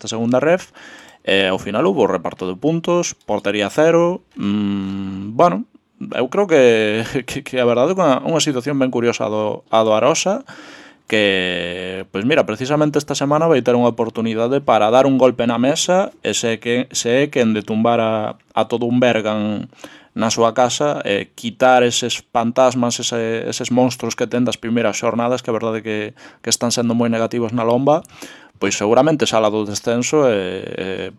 nesta segunda ref, ao final hubo reparto de puntos, portería cero, bueno, eu creo que a verdade é unha situación ben curiosa a do Arosa, que, pois mira, precisamente esta semana vai ter unha oportunidade para dar un golpe na mesa e se é quen de tumbar a todo un Bergan na súa casa, quitar eses fantasmas, eses monstruos que ten das primeiras xornadas, que a verdade que están sendo moi negativos na lomba, pois seguramente sala do descenso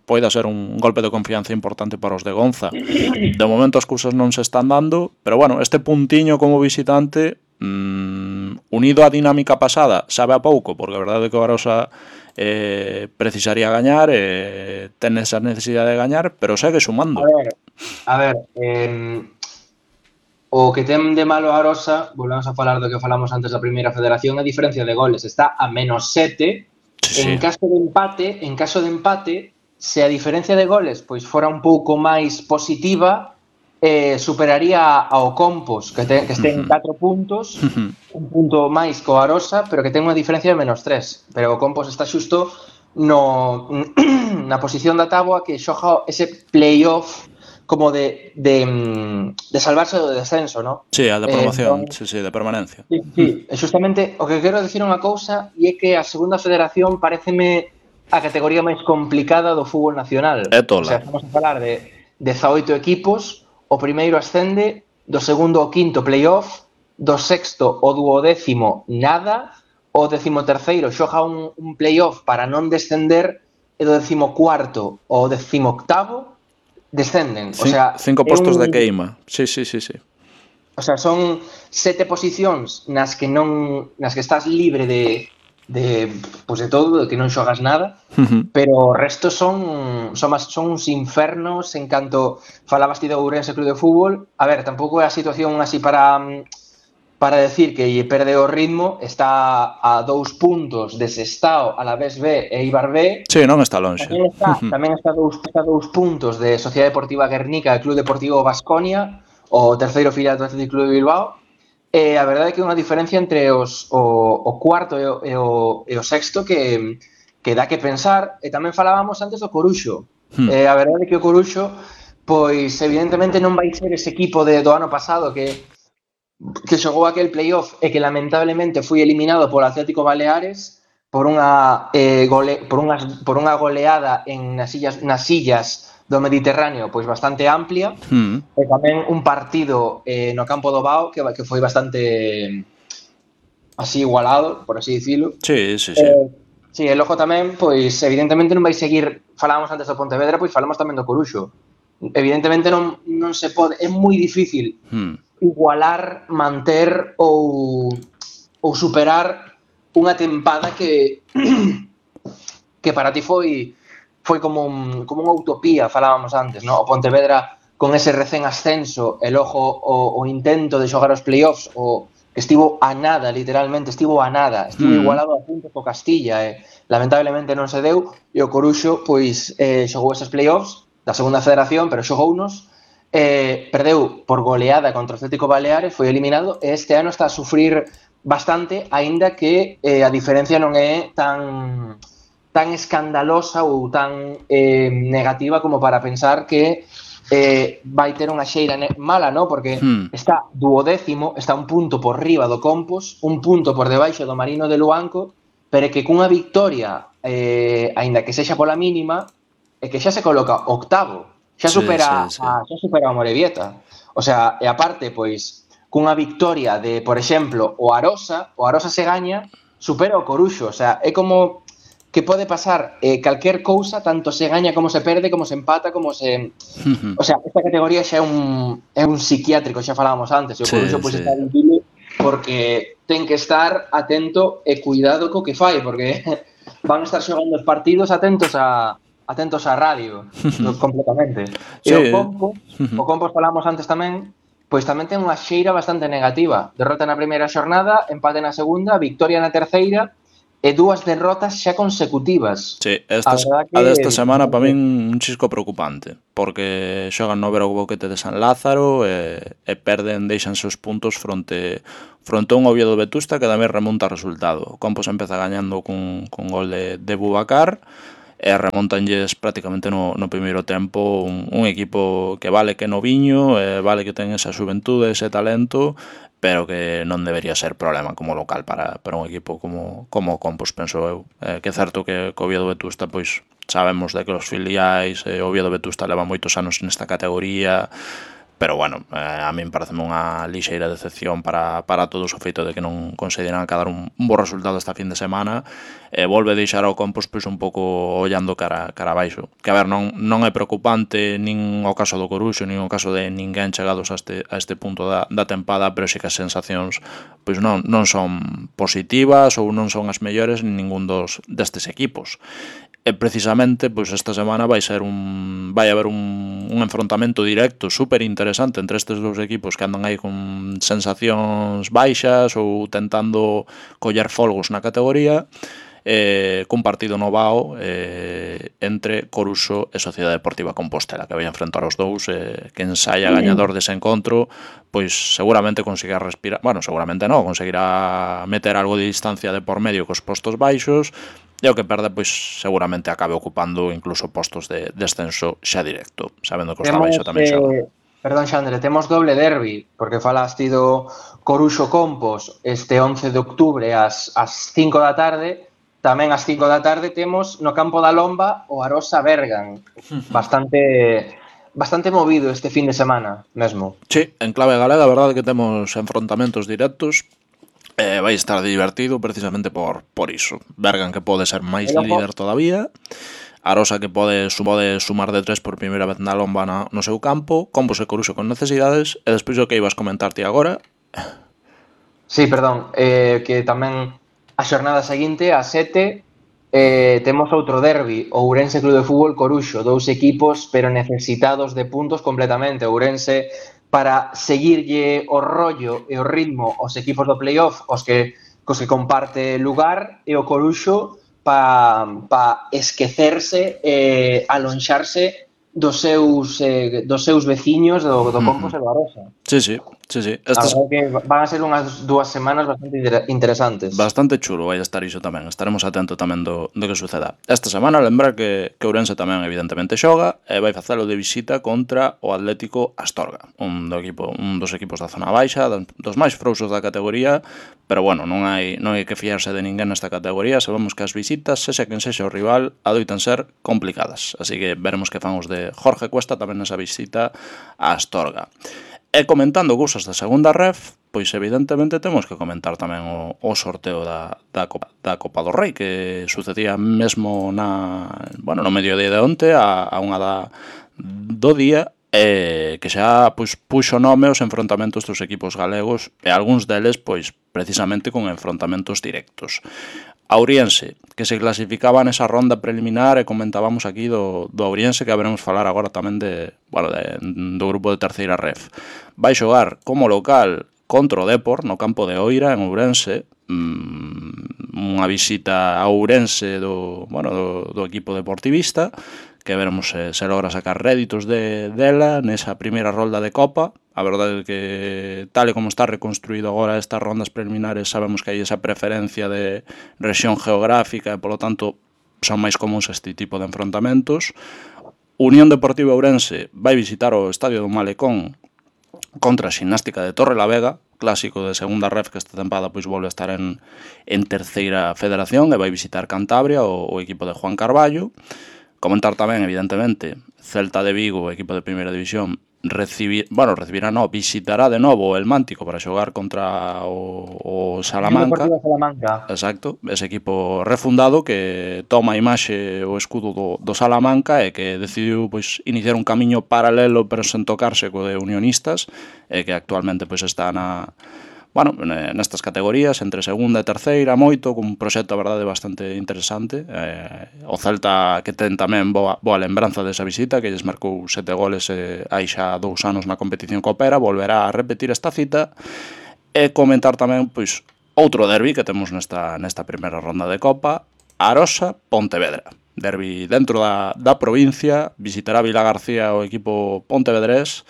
poida ser un golpe de confianza importante para os de Gonza. De momento as cousas non se están dando, pero bueno, este puntiño como visitante, unido á dinámica pasada, sabe a pouco, porque a verdade é que o Arosa precisaría gañar, ten esa necesidade de gañar, pero segue sumando. A ver, o que ten de malo a Arosa, volvemos a falar do que falamos antes da primeira federación, a diferencia de goles está a -7. Sí. En caso de empate, se a diferencia de goles pois fora un pouco máis positiva, superaría ao Compos, que este en 4 puntos, un punto máis co Arosa, pero que ten unha diferencia de -3. Pero o Compos está xusto na posición da táboa que xoga ese playoff como de salvarse do descenso, ¿no? Sí, a de promoción, sí, de permanencia. Sí, justamente o que quero dicir unha cousa e é que a segunda federación pareceme a categoría máis complicada do fútbol nacional. É tola. O sea, estamos a falar de 18 equipos, o primeiro ascende, do segundo ao quinto playoff, do sexto ao duodécimo nada, o 13º xoga un playoff para non descender e do 14º ao 18º descenden. O sea, 5 postos de queima. Sí. O sea, son 7 posicións nas que estás libre de todo, de que non xogas nada, pero o resto son uns infernos en canto falabas ti do Ourense Club de Fútbol. A ver, tampouco é a situación así para decir que perde o ritmo, está a 2 puntos de Sestao, Alavés B e Eibar B. Sí, non está lonxe. Tamén está a 2 puntos de Sociedade Deportiva Guernica e Club Deportivo Baskonia, o terceiro filial do Athletic Club de Bilbao. A verdade é que é unha diferencia entre o cuarto e o sexto que dá que pensar. E tamén falábamos antes do Coruxo. A verdade é que o Coruxo, pois evidentemente non vai ser ese equipo do ano pasado que xogou aquel playoff e que lamentablemente foi eliminado polo Atlético Baleares por unha goleada nas illas do Mediterráneo pois bastante amplia, e tamén un partido no campo do Bao que foi bastante así igualado, por así dicilo. Sí. Sí, e logo tamén, pois evidentemente non vai seguir, falábamos antes do Pontevedra, pois falamos tamén do Coruxo. Evidentemente non se pode, é moi difícil igualar, manter ou superar unha tempada que para ti foi como unha utopía, falábamos antes, ¿no? O Pontevedra con ese recén ascenso e logo o intento de xogar os playoffs, que estivo a nada, literalmente, estivo igualado a puntos co Castilla, lamentablemente non se deu, e o Coruxo pois xogou eses playoffs da segunda federación, pero xogounos, perdeu por goleada contra o Atlético Baleares, foi eliminado, e este ano está a sufrir bastante, aínda que a diferencia non é tan escandalosa ou tan negativa como para pensar que vai ter unha xeira mala, ¿no? Porque está duodécimo, está un punto por riba do Compos, un punto por debaixo do Marino de Luanco, pero que cunha victoria, aínda que sexa pola mínima, é que xa se coloca octavo, xa supera a Morevieta. O sea, e aparte, pois, cunha victoria de, por exemplo, o Arosa se gaña, supera o Coruxo. O sea, é como que pode pasar calquer cousa, tanto se gaña como se perde, como se empata, como se... O sea, esta categoría xa é un psiquiátrico, xa falábamos antes, e o Coruxo pois está difícil porque ten que estar atento e cuidado co que fai, porque van a estar xogando os partidos atentos á radio, completamente. E o Compos falamos antes tamén, pois tamén ten unha xeira bastante negativa. Derrota na primeira xornada, empate na segunda, victoria na terceira, e 2 derrotas xa consecutivas. Sí, a desta semana para min un chisco preocupante, porque xogan no Verao Boquete de San Lázaro e deixanse os puntos fronte a un Oviedo Vetusta que tamén remonta o resultado. O Campos empeza gañando con gol de Bubacar, e remontanlles prácticamente no primeiro tempo un equipo que vale que noviño, vale que ten esa xuventude, ese talento, pero que non debería ser problema como local para un equipo como o Compos, penso eu. Que é certo que o Oviedo Vetusta, pois sabemos de que os filiais, o Oviedo Vetusta leva moitos anos nesta categoría, pero bueno, a min parece unha lixeira decepción para todos o feito de que non conseguiran acadar un bo resultado esta fin de semana, volve deixar ao Compos pois un pouco ollando cara abaixo, que a ver, non é preocupante nin o caso do Coruxo, nin o caso de ninguén chegados a este punto da tempada, pero sí que as sensacións pois non son positivas ou non son as mellores en ningún destes equipos. E precisamente pois esta semana vai haber un enfrontamento directo super interesante entre estes dous equipos que andan aí con sensacións baixas ou tentando coller folgos na categoría, cun partido no Vao entre Coruxo e Sociedade Deportiva Compostela, que vai enfrentar os dous, quen saia gañador dese encontro pois seguramente conseguirá respirar, bueno, seguramente non, conseguirá meter algo de distancia de por medio cos postos baixos, e o que perde, pois seguramente acabe ocupando incluso postos de descenso xa directo, sabendo que os da baixo tamén xogan. Perdón, Xandre, temos doble derbi, porque falaste do Coruxo Compos este 11 de octubre ás 5 da tarde, tamén ás 5 da tarde temos no campo da Lomba o Arosa Bergan, bastante movido este fin de semana mesmo. Sí, en clave galega, a verdade que temos enfrontamentos directos. Vai estar divertido precisamente por iso. Bergan, que pode ser máis líder todavía, Arosa, que pode sumar de 3 por primeira vez na Lomba no seu campo, Compos e Coruxo con necesidades, e despois o que ibas comentarte agora. Sí, perdón, que tamén a xornada seguinte, a 7, temos outro derbi, o Ourense Club de Fútbol Coruxo, dous equipos pero necesitados de puntos completamente. Ourense para seguirlle o rollo e o ritmo aos equipos do playoff, cos que comparte lugar, e o Coruxo para esquecerse e alonxarse dos seus veciños do Compos e do Arosa. Sí. Van a ser unhas 2 semanas bastante interesantes. Bastante chulo vai estar iso tamén. Estaremos atentos tamén do que suceda. Esta semana lembrar que Ourense tamén evidentemente xoga e vai facelo de visita contra o Atlético Astorga, un dos equipos da zona baixa, dos máis frouxos da categoría, pero bueno, non hai que fiarse de ninguén nesta categoría. Sabemos que as visitas, sexa quen sexa o rival, adoitan ser complicadas, así que veremos que fan os de Jorge Cuesta tamén nesa visita a Astorga. E comentando cousas da segunda ref, pois evidentemente temos que comentar tamén o sorteo da Copa do Rei, que sucedía mesmo no mediodía de onte, a unha do día, que xa puxo nome aos enfrontamentos dos equipos galegos, e algúns deles pois precisamente con enfrontamentos directos. Auriense, que se clasificaba nesa ronda preliminar, e comentábamos aquí do Auriense, que haberemos falar agora tamén do grupo de terceira ref. Vai xogar como local contra o Depor no campo de Oira, en Ourense, unha visita a Ourense do equipo deportivista, que veremos se logra sacar réditos dela nesa primeira rolda de Copa. A verdade é que, tal e como está reconstruído agora estas rondas preliminares, sabemos que hai esa preferencia de rexión geográfica e, polo tanto, son máis comuns este tipo de enfrontamentos. Unión Deportiva Ourense vai visitar o Estadio do Malecón contra a Ximnástica de Torrelavega, clásico de segunda ref, que esta tempada pois volve a estar en terceira federación, e vai visitar Cantabria, o equipo de Juan Carballo. Comentar tamén, evidentemente, Celta de Vigo, equipo de primeira división, visitará de novo el Mántico para xogar contra o Salamanca. Exacto, ese equipo refundado que toma a imaxe o escudo do Salamanca e que decidiu pois iniciar un camiño paralelo pero sen tocarse co de Unionistas, e que actualmente pois está nestas categorías, entre segunda e terceira, moito, con un proxecto, a verdade, bastante interesante. O Celta, que ten tamén boa lembranza desa visita, que lles marcou 7 goles hai xa 2 anos na competición coopera, volverá a repetir esta cita. E comentar tamén, pois, outro derbi que temos nesta primeira ronda de Copa, Arosa-Pontevedra. Derbi dentro da provincia, visitará Vilagarcía o equipo pontevedrés,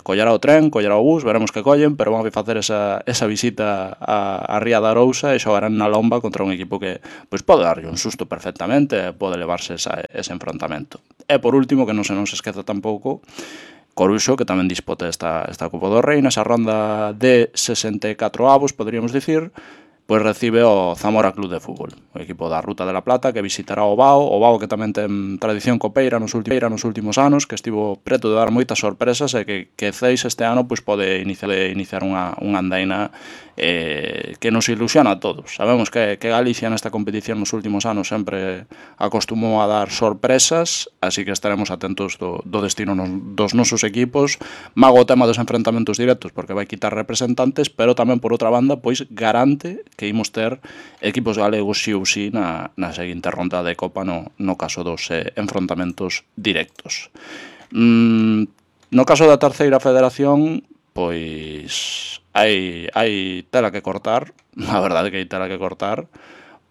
collerá o tren, collerá o bus, veremos que collen, pero van a facer esa visita a Ría de Arousa e xogarán na lomba contra un equipo que pois pode darlle un susto perfectamente, pode levarse ese enfrontamento. E por último, que non se esqueza tampouco, Coruxo, que tamén disputa esta Copa do Rei, nesa ronda de 64 avos, poderíamos dicir, pois recibe o Zamora Club de Fútbol, o equipo da Ruta de la Plata, que visitará o Bao que tamén ten tradición copeira nos últimos anos, que estivo preto de dar moitas sorpresas e que Ceis este ano pois pode iniciar unha andaina que nos ilusiona a todos. Sabemos que Galicia nesta competición nos últimos anos sempre acostumou a dar sorpresas, así que estaremos atentos do destino dos nosos equipos. Mago o tema dos enfrentamentos directos, porque vai quitar representantes, pero tamén por outra banda, pois garante que imos ter equipos galegos sí ou sí na seguinte ronda de Copa no caso dos enfrontamentos directos. No caso da terceira federación, pois hai tela que cortar, a verdade que hai tela que cortar,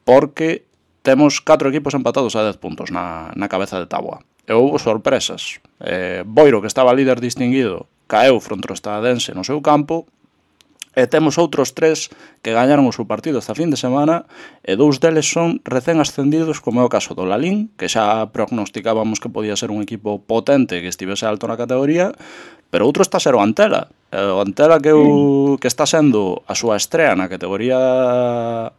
porque temos 4 equipos empatados a 10 puntos na cabeza de táboa. E houve sorpresas. Boiro, que estaba líder distinguido, caeu fronte ao Estadense no seu campo, e temos outros 3 que gañaron o seu partido esta fin de semana, e 2 deles son recén ascendidos, como é o caso do Lalín, que xa prognosticábamos que podía ser un equipo potente que estivese alto na categoría, pero outro está a ser o Antela. O Antela que está sendo a súa estrea na categoría,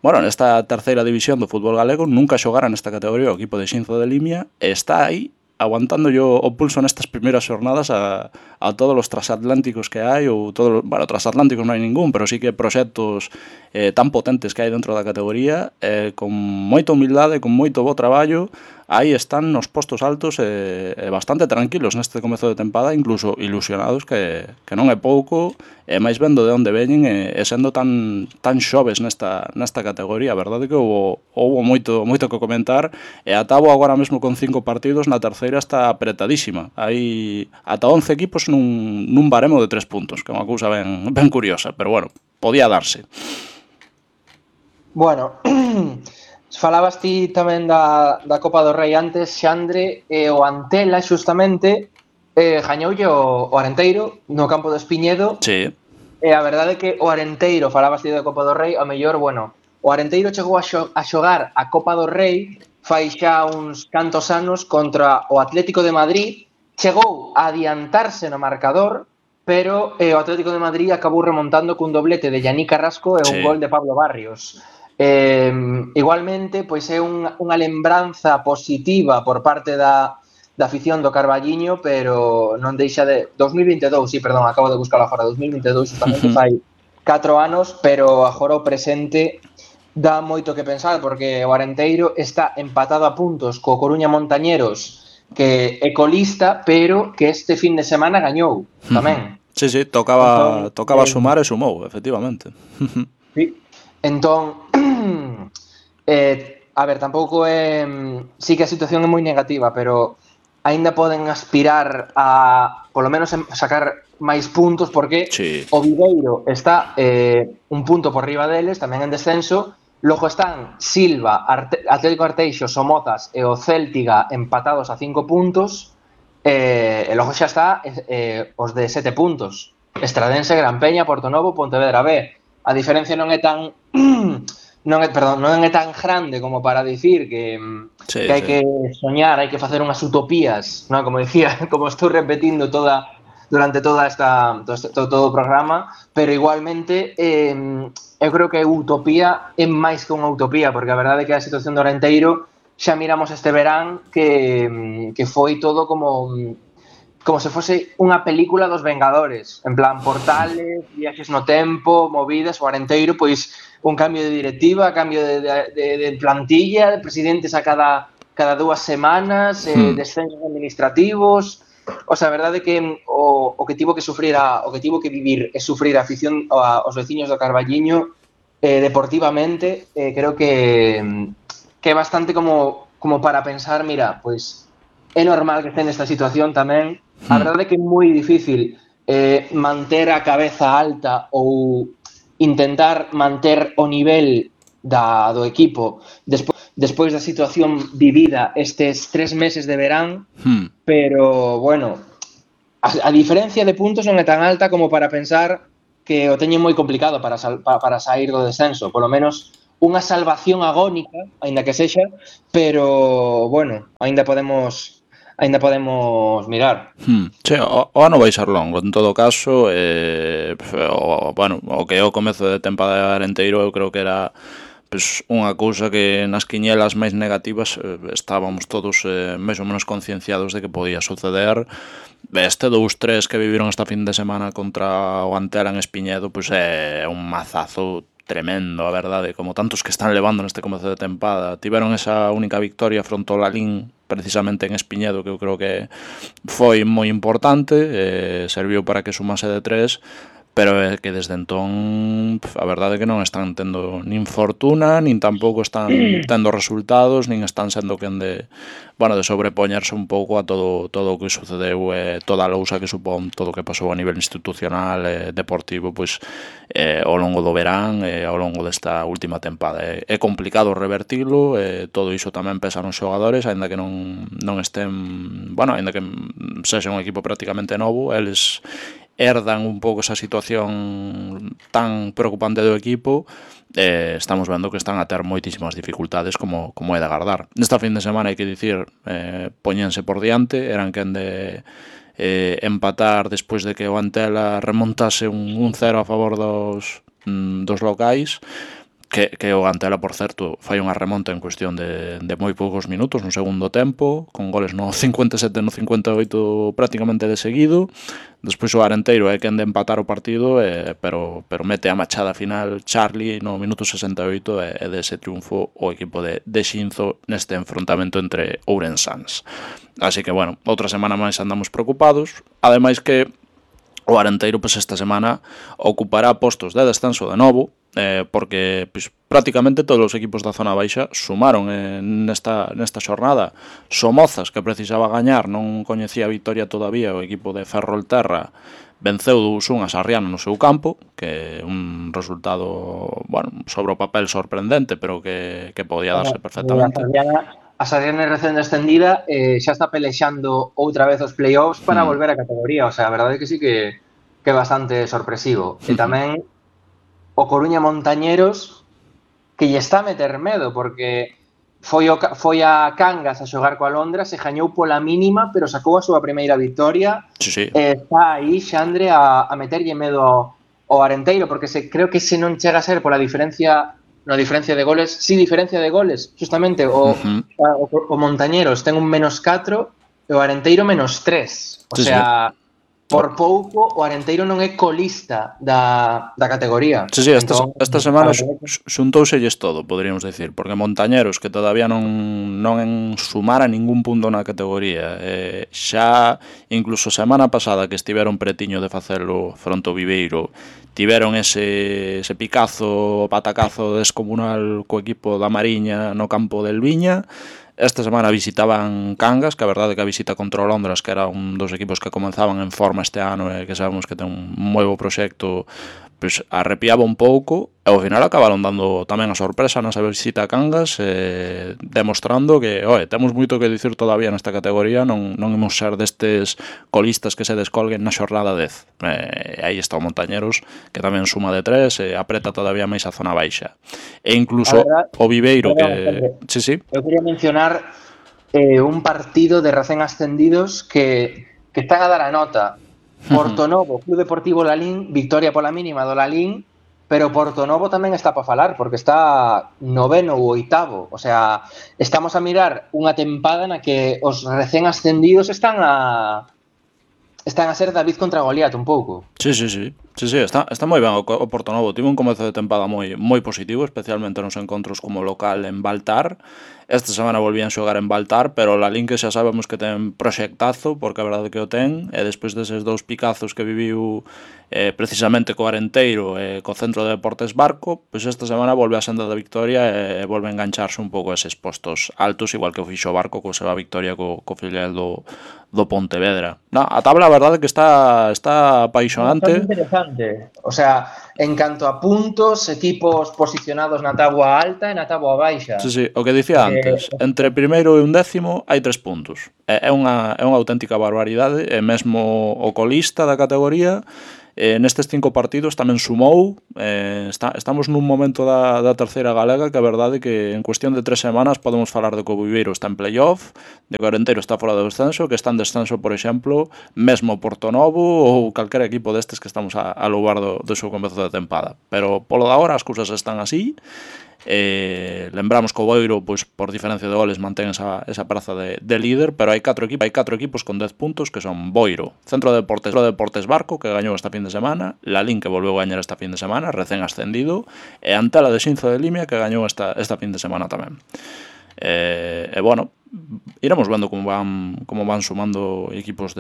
bueno, nesta terceira división do fútbol galego, nunca xogara nesta categoría o equipo de Xinzo de Limia, e está aí aguantando yo o pulso nestas primeiras xornadas a todos os transatlánticos que hai, ou todos, bueno, transatlánticos non hai ningún, pero sí que proxectos tan potentes que hai dentro da categoría, con moita humildade, con moito bo traballo, aí están nos postos altos e bastante tranquilos neste comezo de tempada, incluso ilusionados, que non é pouco, e máis vendo de onde veñen e sendo tan xoves nesta categoría. A verdade que houve moito que comentar, e a Tabo agora mesmo con 5 partidos na terceira está apretadísima. Hai ata 11 equipos nun baremo de 3 puntos, que é unha cousa ben curiosa, pero bueno, podía darse. Bueno, falabas ti tamén da Copa do Rei antes, Xandre, e o Antela xustamente gañoulle o Arenteiro no campo do Espiñedo. Sí. E a verdade é que o Arenteiro, falabas ti da Copa do Rei, a mellor, bueno, o Arenteiro chegou a xogar a Copa do Rei fai xa uns cantos anos contra o Atlético de Madrid, chegou a adiantarse no marcador, pero o Atlético de Madrid acabou remontando cun doblete de Yannick Carrasco e un gol de Pablo Barrios. Igualmente, pois é unha lembranza positiva por parte da afición do Carballiño, pero non deixa de... 2022, sí, perdón, acabo de buscar agora, 2022, justamente fai 4 anos, pero agora o presente dá moito que pensar, porque o Arenteiro está empatado a puntos co Coruña Montañeros, que é colista, pero que este fin de semana gañou tamén. Sí, tocaba sumar e sumou, efectivamente. Sí, entón, a ver, tampouco é... Sí que a situación é moi negativa, pero aínda poden aspirar a, polo menos, sacar máis puntos, porque o Viveiro está un punto por riba deles, tamén en descenso. Logo están Silva, Atlético Arteixo, Somozas e o Céltiga empatados a 5 puntos, e logo xa está os de 7 puntos, Estradense, Gran Peña, Portonovo, Pontevedra B. A diferencia non é tan non é tan grande como para dicir que hai que soñar, hai que facer unhas utopías, non? Como dicía, como estou repetindo durante todo o programa, pero igualmente eu creo que a utopía é máis que unha utopía, porque a verdade é que a situación do Arenteiro xa miramos este verán que foi todo como se fose unha película dos Vengadores, en plan portales, viaxes no tempo, movidas. O Arenteiro, pois un cambio de directiva, cambio de plantilla, de presidentes a cada 2 semanas, descensos administrativos. O sea, a verdade é que o que tivo que vivir e sufrir a afición aos veciños do Carballiño deportivamente, creo que é bastante como para pensar, mira, pois é normal que estén nesta situación tamén. A verdade é que é moi difícil manter a cabeza alta ou intentar manter o nivel do equipo despois da situación vivida estes 3 meses de verán, pero, bueno, a diferencia de puntos non é tan alta como para pensar que o teñen moi complicado para sair do descenso, polo menos unha salvación agónica, aínda que sexa, pero bueno, aínda podemos mirar. Sí, o ano vai ser longo, en todo caso, bueno, o que é o comezo de tempada de Arenteiro eu creo que era pues, unha cousa que nas quiñelas máis negativas estábamos todos máis ou menos concienciados de que podía suceder. Este 2-3 que viviron esta fin de semana contra o Antela en Espiñedo pues é un mazazo tremendo, a verdade, como tantos que están levando neste comezo de tempada. Tiveron esa única victoria fronte ao Lalín precisamente en Espiñedo, que eu creo que foi moi importante, serviu para que sumase de 3, pero é que desde entón a verdade é que non están tendo nin fortuna, nin tampouco están tendo resultados, nin están sendo quen de, bueno, de sobrepoñerse un pouco a todo o que sucedeu, toda a lousa que supón todo o que pasou a nivel institucional e deportivo pois ao longo do verán e ao longo desta última tempada. É complicado revertilo, todo iso tamén pesa nos xogadores, aínda que non estén, bueno, aínda que sexa un equipo prácticamente novo, eles herdan un pouco esa situación tan preocupante do equipo. Estamos vendo que están a ter moitísimas dificultades como é de agardar. Nesta fin de semana, hai que dicir, poñense por diante, eran quen de empatar despois de que o Antela remontase un 0 a favor dos locais, que o Antela, por certo, fai unha remonta en cuestión de moi poucos minutos no segundo tempo, con goles no 57 e no 58 prácticamente de seguido. Despois o Arenteiro é quen de empatar o partido, pero mete a machada final Charlie no minuto 68 e dese triunfo o equipo de Xinzo neste enfrontamento entre Ourensáns. Así que, bueno, outra semana máis andamos preocupados, ademais que o Arenteiro pues, esta semana ocupará postos de descenso de novo, porque pues, prácticamente todos os equipos da zona baixa sumaron nesta xornada. Somozas, que precisaba gañar, non coñecía a victoria todavía, o equipo de Ferrolterra venceu 2-1 a Sarriana no seu campo, que é un resultado, bueno, sobre o papel sorprendente, pero que podía darse perfectamente. A Sarriana recén descendida xa está pelexando outra vez os playoffs para volver a categoría, o sea, a verdade é que sí que é bastante sorpresivo. E tamén o Coruña Montañeros, que lle está a meter medo, porque foi a Cangas a xogar coa Londra, se gañou pola mínima, pero sacou a súa primeira victoria. Sí. Está aí, Xandre, a meterlle medo ao Arenteiro, porque creo que se non chega a ser pola diferencia de goles, diferencia de goles, justamente, o Montañeros ten un -4 e o Arenteiro -3. O sea, por pouco o Arenteiro non é colista da categoría. Sí, esta semana xuntouselles todo, poderíamos decir, porque Montañeros, que todavía non sumara ningún punto na categoría, xa incluso semana pasada que estiveron pretiño de facelo fronte ao Viveiro, tiveron ese picazo, patacazo descomunal co equipo da Mariña no campo del Viña. Esta semana visitaban Cangas, que a verdade que a visita contra o Londres, que era un dos equipos que comenzaban en forma este ano e que sabemos que ten un moi bo proxecto, pues arrepiaba un pouco e ao final acabaron dando tamén a sorpresa nesa visita a Cangas, demostrando que temos moito que dicir todavía nesta categoría, non imos ser destes colistas que se descolguen na xornada 10. Aí está o Montañeros, que tamén suma de 3 e apreta todavía máis a zona baixa. E incluso o Viveiro que... Sí. Eu quería mencionar un partido de recén ascendidos que están a dar a nota. Portonovo, Club Deportivo Lalín, victoria pola mínima do Lalín, pero Portonovo tamén está para falar, porque está 9º ou 8º. O sea, estamos a mirar unha tempada na que os recén ascendidos están a ser David contra Goliat un pouco. Sí, está moi ben o Portonovo. Tivo un comezo de tempada moi positivo, especialmente nos encontros como local en Baltar. Esta semana volvían xogar en Baltar, pero o Lalín que xa sabemos que ten proxectazo, porque a verdade que o ten, e despois deses dous picazos que viviu precisamente co Arenteiro e co Centro de Deportes Barco, pois esta semana volve a senda da victoria e volve a engancharse un pouco a eses postos altos, igual que o fixo Barco co seva victoria co filial do Pontevedra. A tabla, a verdade, que está apaixonante. Bastante interesante. O sea, en canto a puntos, equipos posicionados na táboa alta e na táboa baixa. Sí, o que dicía antes, entre primeiro e un décimo hai 3 puntos. É unha auténtica barbaridade, e mesmo o colista da categoría nestes 5 partidos tamén sumou. Estamos nun momento da terceira galega que a verdade que en cuestión de 3 semanas podemos falar de que o Viveiro está en playoff, de que o Orenteiro está fora do descenso, que está en descenso, por exemplo, mesmo Portonovo ou calquera equipo destes que estamos a louvar do seu comezo de tempada. Pero polo de agora as cousas están así. Lembramos que o Boiro, pois, por diferencia de goles, mantén esa praza de líder, pero hai 4 equipos con 10 puntos, que son Boiro, Centro de Deportes Barco, que gañou esta fin de semana, Lalín, que volveu a gañar esta fin de semana, recén ascendido, e Antela de Xinzo de Limia, que gañou esta fin de semana tamén. Bueno, iremos vendo como van sumando equipos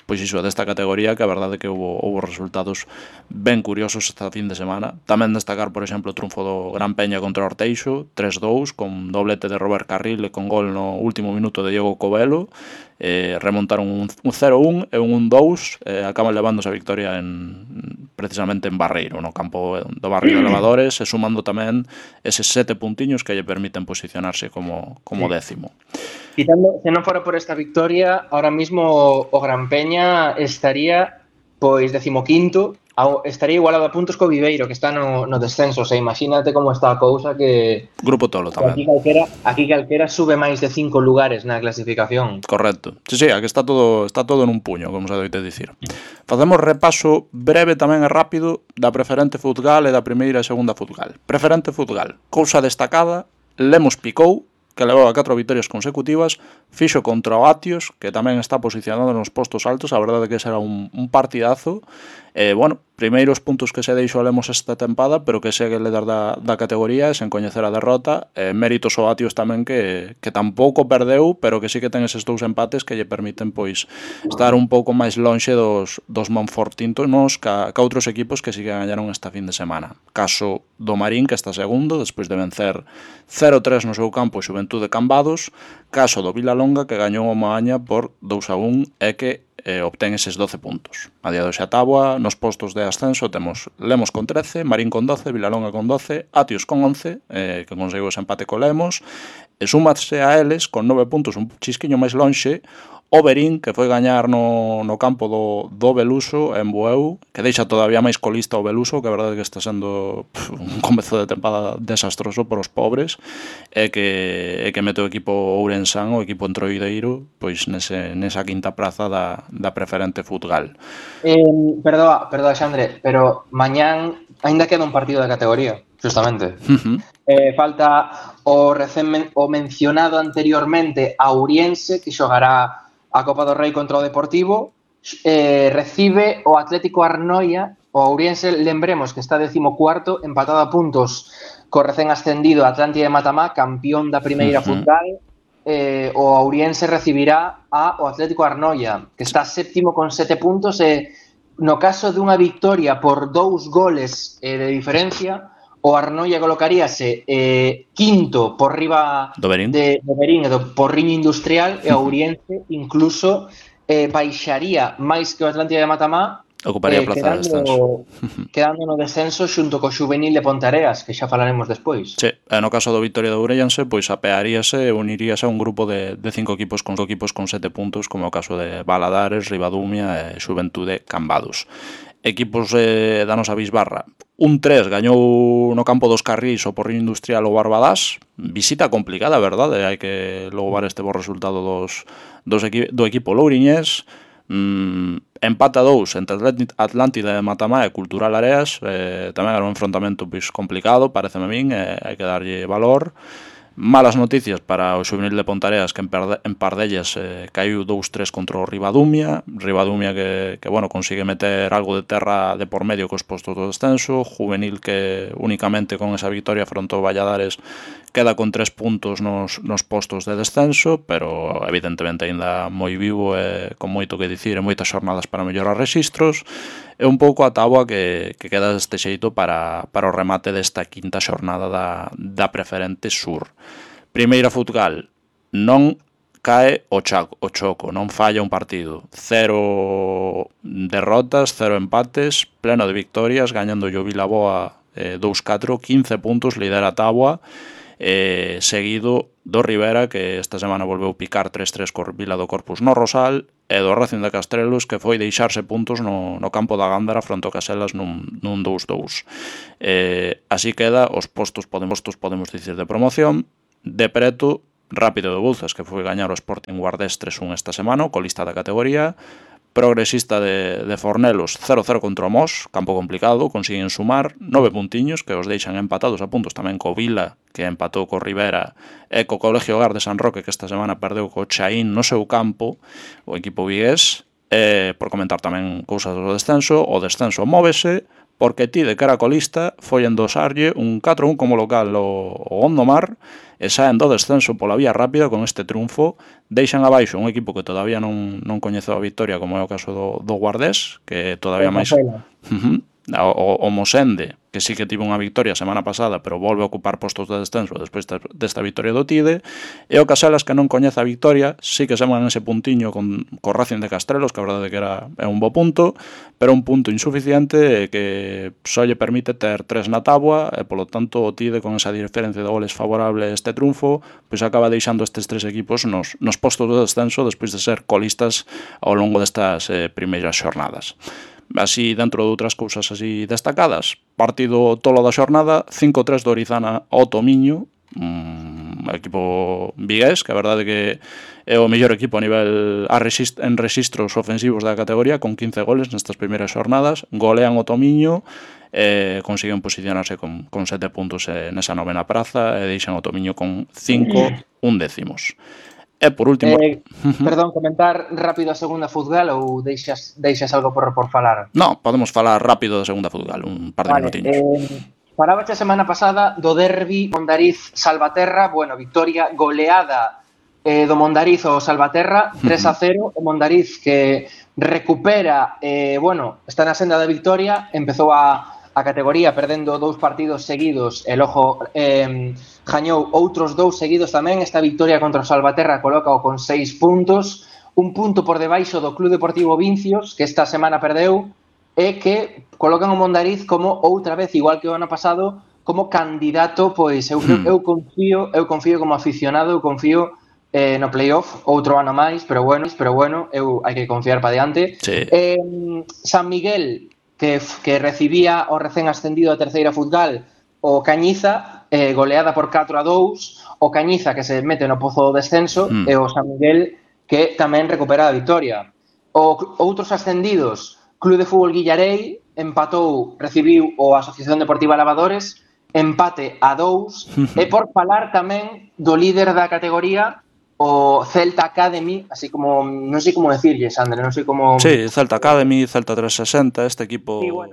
pois iso, desta categoría, que a verdade que houve resultados ben curiosos esta fin de semana. Tamén destacar, por exemplo, o triunfo do Gran Peña contra o Orteixo, 3-2, con doblete de Robert Carril e con gol no último minuto de Diego Covelo. Remontaron un 0-1 e un 1-2, acaban levándose a victoria precisamente en Barreiro, no campo do barrio de Levadores, e sumando tamén eses 7 puntiños que lle permiten posicionarse como décimo. Quitando, se non fora por esta victoria, ahora mismo o Gran Peña estaría pois 15º, estaría igualado a puntos co Viveiro, que está no descenso. O sea, imagínate como está a cousa, que Grupo Tolo tamén. Aquí calquera sube máis de 5 lugares na clasificación. Correcto. Sí, aquí está todo nun puño, como se doite dicir. Facemos repaso breve tamén e rápido da preferente Futgal e da primeira e segunda Futgal. Preferente Futgal, cousa destacada, Lemos picou, que levaba 4 vitorias consecutivas, fixo contra o Atios, que tamén está posicionado nos postos altos. A verdade que será un partidazo. Bueno, primeiros puntos que se deixou Lemos esta tempada, pero que segue líder da categoría sen coñecer a derrota. Méritos ao Atios tamén, que tampouco perdeu, pero que sí que ten eses 2 empates que lle permiten pois estar un pouco máis lonxe dos Monfortintos ca outros equipos que sí que gañaron esta fin de semana. Caso do Marín, que está segundo, despois de vencer 0-3 no seu campo Xuventude Cambados. Caso do Vilalonga, que gañou o Moaña por 2-1 e que obtén eses 12 puntos. A día de hoxe a táboa, nos postos de ascenso temos Lemos con 13, Marín con 12, Vilalonga con 12, Atios con 11, que conseguiu ese empate co Lemos, e súmase a eles con 9 puntos, un chisquiño máis lonxe, o Berín, que foi gañar no campo do Beluso en Bueu, que deixa todavía máis colista o Beluso, que a verdade que está sendo un comezo de tempada desastroso por os pobres, e que mete o equipo ourensán, o equipo entroideiro, pois nesa quinta praza da preferente Futgal. Perdoa, Xandre, pero mañán aínda queda un partido de categoría, justamente. Falta o mencionado anteriormente Auriense, que xogará a Copa do Rei contra o Deportivo, recibe o Atlético Arnoia. O Auriense, lembremos que está 14º, empatado a puntos co recén ascendido Atlántida de Matamá, campeón da primeira Futgal. O Auriense recibirá o Atlético Arnoia, que está 7º con 7 puntos, e no caso dunha victoria por 2 goles de diferencia, o Arnoia colocaríase quinto por riba do Berín e do Porriño Industrial, e o Auriense incluso baixaría máis que o Atlántida de Matamá, ocuparía a plaza de descenso, quedando no descenso xunto co Xuvenil de Ponteareas, que xa falaremos despois. Sí, no caso do Vitoria de Ourense, pois apearíase e uniríase a un grupo de 5 equipos con 7 puntos, como o caso de Valadares, Ribadumia e Xuventude Cambados. Equipos da nosa Bisbarra. Un 3 gañou no campo dos Carrís o Porriño Industrial o Barbadás. Visita complicada, verdade? Hai que louvar este bo resultado do equipo louriñés. Empate a 2 entre Atlántida de Matamá e Cultural Areas. Tamén era un enfrontamento pois complicado, pareceme a min, hai que darlle valor. Malas noticias para o Xuvenil de Pontareas, que en par dellas caiu 2-3 contra o Ribadumia que bueno, consigue meter algo de terra de por medio cos postos do descenso. Juvenil que únicamente con esa victoria fronte ao Valladares queda con 3 puntos nos postos de descenso, pero evidentemente aínda moi vivo e con moito que dicir e moitas xornadas para mellorar rexistros. É un pouco a táboa que queda deste xeito para o remate desta quinta xornada da preferente sur. Primeira Futgal, non cae o Choco, non falla un partido. 0 derrotas, 0 empates, pleno de victorias, gañando o Vilaboa 2-4, 15 puntos, lidera a táboa, seguido do Rivera, que esta semana volveu picar 3-3 cor Vila do Corpus no Rosal, e do Racing de Castrelos, que foi deixarse puntos no campo da Gándara fronte ao Caselas nun 2-2. Así queda os postos podemos dicir de promoción. De preto, Rápido de Bouzas, que foi gañar o Sporting Guardés 3-1 esta semana, colista da categoría. Progresista de Fornelos 0-0 contra o Mos, campo complicado, consiguen sumar 9 puntiños que os deixan empatados a puntos tamén co Vila, que empatou co Rivera, e co Colegio Hogar de San Roque, que esta semana perdeu co Chaín no seu campo, o equipo vigués. Por comentar tamén cousas do descenso, o descenso móvese, porque ti de cara colista foi endosarlle un 4-1 como local o Gondomar, e saen do descenso pola vía rápida con este triunfo. Deixan abaixo un equipo que todavía non coñeceu a victoria, como é o caso do Guardés, que todavía máis... O Mosende, que sí que tivo unha victoria a semana pasada, pero volve a ocupar postos de descenso despois desta victoria do Tide, e o Caselas, que non coñece a victoria, sí que se man ese puntiño co Racing de Castrelos, que a verdade que é un bo punto, pero un punto insuficiente que só lle permite ter 3 na táboa, e polo tanto o Tide, con esa diferencia de goles favorable a este triunfo, pois acaba deixando estes 3 equipos nos postos de descenso despois de ser colistas ao longo destas primeiras xornadas. Así, dentro de outras cousas así destacadas, partido tolo da xornada, 5-3 do Orizana ao Tomiño, equipo vigués, que a verdade que é o mellor equipo a nivel en rexistros ofensivos da categoría, con 15 goles nestas primeiras xornadas, golean o Tomiño, consiguen posicionarse con 7 puntos nesa novena praza, e deixan o Tomiño con 5 undécimos. E por último... Perdón, comentar rápido a segunda futgal ou deixas algo por falar? No, podemos falar rápido da segunda futgal, un par de minutiños. Falaba a semana pasada do derbi Mondariz-Salvaterra, victoria goleada do Mondariz ao Salvaterra, 3-0, o Mondariz que recupera, está na senda da victoria, empezou a categoría perdendo 2 partidos seguidos, e logo gañou outros 2 seguidos tamén. Esta victoria contra o Salvaterra colócao con 6 puntos, un punto por debaixo do Club Deportivo Vincios, que esta semana perdeu, e que colocan o Mondariz como outra vez, igual que o ano pasado, como candidato. Pois eu confío como aficionado, eu confío no playoff outro ano máis, pero bueno, hai que confiar para diante. Sí. San Miguel, que recibía o recén ascendido a terceira futgal, o Cañiza, goleada por 4-2, o Cañiza que se mete no pozo do descenso, e o San Miguel que tamén recupera a victoria. Outros ascendidos, Club de Fútbol Guillarei recibiu o Asociación Deportiva Lavadores, empate a 2, e por falar tamén do líder da categoría, o Celta Academy, así como, non sei como decirlle, Sandra, non sei como... Sí, Celta Academy, Celta 360, este equipo... Sí, bueno.